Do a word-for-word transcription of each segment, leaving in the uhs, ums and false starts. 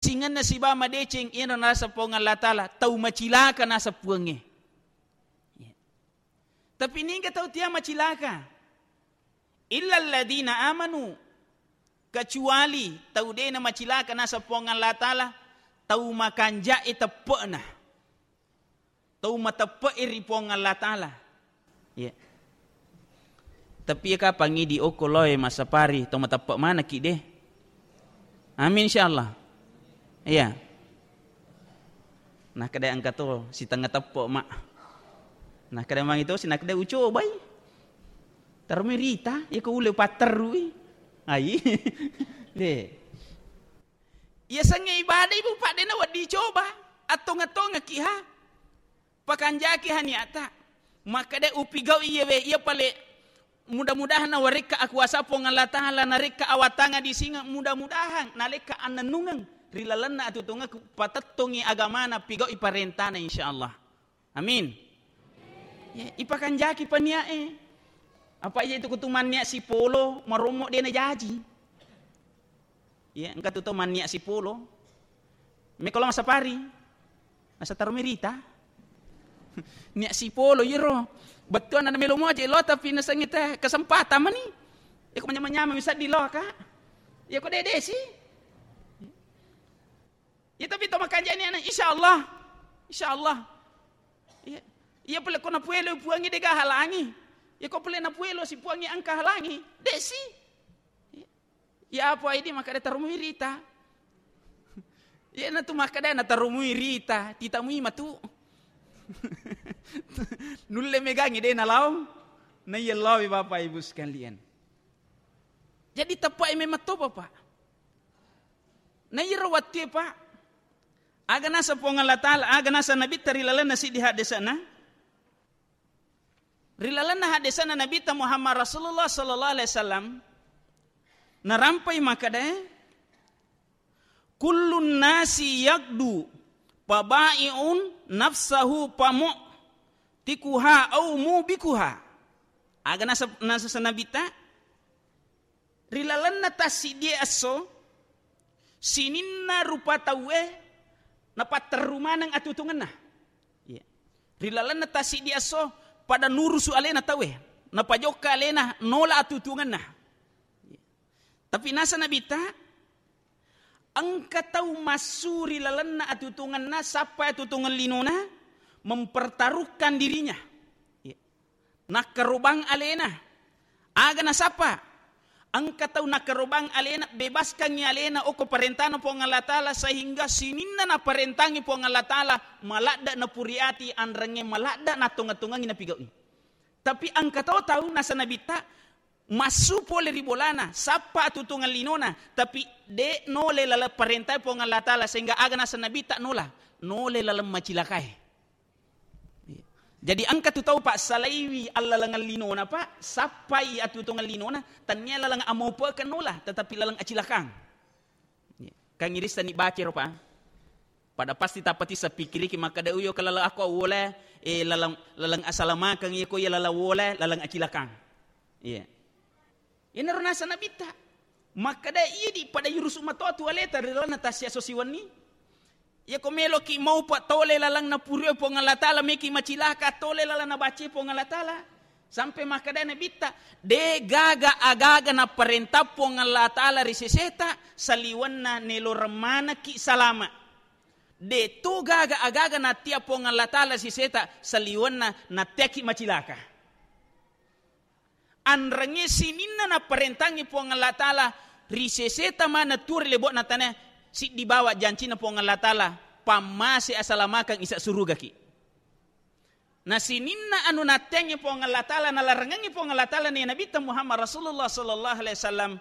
Cettingenna sibawa madeceng iyana naseng Puang Allah Ta'ala, tau macilaka naseng Puangnge. Iya. Tapi niga tau tea macilaka? Illalladzina amanu, kecuali tau de namacilaka naseng Puang Allah Ta'ala, tau makanjae teppe'na. Tau mateppe'i ri Puang Allah Ta'ala. Iya. Tapi iya kapang idi okko loe massapari, tau mateppe' manekki de. Amin, insyaallah. Iya. Nakkeda engka to sitengnga teppe', Mak. Nakkeda mangi to si, nakkeda ucobai. Taromai rita, iko ulle patterrui. Ai. De. Yasengnge ibadah ibu, Pak, de nawedding coba. Attong-attongekki ha. Pakanjaki ha niatta. Makkeda upigau iyewe, iya pale mudah-mudahan nawarekka akuasa Puang Allah Ta'ala, narekka awatanga di singa, mudah-mudahan nalekka annennungeng ri lalenna atutungekku, patettongi agamana, pigaui parentana, insyaallah. Amin. Ya, ipakanjaki paniae. Apa iya itu kutu mannia sipolo, marommo de najaji. Iya, engka tu to mannia sipolo. Mekko lo massapari. Nasa taromai rita. Nia sipolo iyaro. Bettuanna melo moje lo, tapi nasengnge te kesempatan mani. Iko manyama-nyama misaddi lo, Kak. Iko dede si. Iya, tapi to makanjani ana, insyaallah. Insyaallah. Iya. Iya pale ko napuelo Puangnge de gaga halangi. Iya ko pale napuelo si Puangnge engka halangi. De si. Iya. Iya apa idi makkeda taromui rita. Iya natu makkeda na taromui rita, titamui matu. Nulle megangi de nalao. Na iya lawi Bapak Ibu sekalian. Jadi tepai memang to Bapak. Na iyaro wattue, Pak, aga naseng Puang Allah Ta'ala, aga naseng Nabitta ri lalenna siddi haddese'na? Ri lalenna haddese'na Nabitta Muhammad Rasulullah sallallahu alaihi wasallam, narampai makkeda, "Kullun nasi yagdu, fabai'un nafsahu famu'tikuha au mubikuha." Aga naseng, naseng Nabitta? Ri lalenna tassiddie esso, sininna rupa tauwe napatterru maneng atutungenna. Iya. Ri lalenna tassiddie esso, pada nurusu alena tauwe, napajokka alena nola atutungenna. Iya. Tapi naseng Nabitta, engka tau massu ri lalenna atutungenna, sappai atutungeng linona, mempertaruhkan dirinya. Iya. Nakkarobang alena. Aga nasappa? Engka tau nakkarobang alena, bebaskangngi alena okko parentana Puang Allah Ta'ala, sehingga sininna naparentangngi Puang Allah Ta'ala, maladde napuri ati, anrengnge maladde nattongeng-tongengngi napigau'i. Tapi engka to tau naseng Nabitta, massu pole ri bolana, sappa atutungeng linona, tapi de nole laleng parentae Puang Allah Ta'ala, sehingga aga naseng Nabitta nola, nole laleng macilakae. Iya. Jadi engka tu tau, Pak, salaiwi allalengeng linona, Pak, sappai atutungeng linona, tennia laleng amaupe'keng nola, tetapi laleng acilakang. Iya. Kan irissenni bacero, Pak. Pada pasti tapati sapikiriki makkeda, "Uyo ke laleng ako wole, eh, laleng, laleng asalamakeng iya ko iya laleng wole, laleng acilakang." Iya. Iyanaro naseng Nabitta. Makkeda, "Idi pada yurusu matoa tu aleta ri lalenna tassia esso siwenni. Iya ko meloki maupa tole laleng napurue Puang Allah Ta'ala, meki macilaka tole laleng nabace Puang Allah Ta'ala." Sampai makkeda Nabitta, "De gaga agaga naparenta Puang Allah Ta'ala ri seseta saliwenna neloreng manekki salama. De to gaga agaga nattia Puang Allah Ta'ala ri seseta saliwenna nattiaki macilaka." Anrengnge sininna naparentangngi Puang Allah Ta'ala ri seseta maneng tuo ri lebo'na tanah, siddi bawa jancina Puang Allah Ta'ala, pammase asalamakeng isa surugaki. Na sininna anu natteangngi Puang Allah Ta'ala, nalarengengngi Puang Allah Ta'ala, ne Nabitta Muhammad Rasulullah sallallahu alaihi wasallam,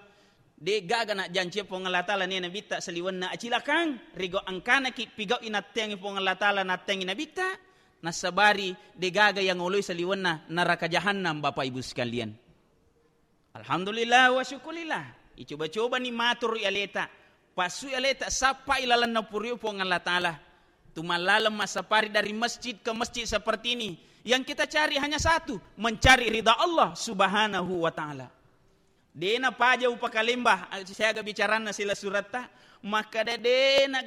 de gaga najjancia Puang Allah Ta'ala, ne Nabitta, saliwenna acilakang, rigo engkanaki pigau'i natteangngi Puang Allah Ta'ala, natteangngi Nabitta, Nassabari degaga yang oloi saliwenna naraka jahannam, Bapak Ibu sekalian. Alhamdulillah wa syukurillah. Icoba-cobani maturu aleta. Passui aleta, sappai lalenna puriu Puang Allah Ta'ala. Tumallaleng massapari dari masjid ke masjid seperti ini. Yang kita cari hanya satu, mencari ridha Allah Subhanahu wa Ta'ala. De napaja upakalemba, siaga bicaranna sila suratta, makkada de na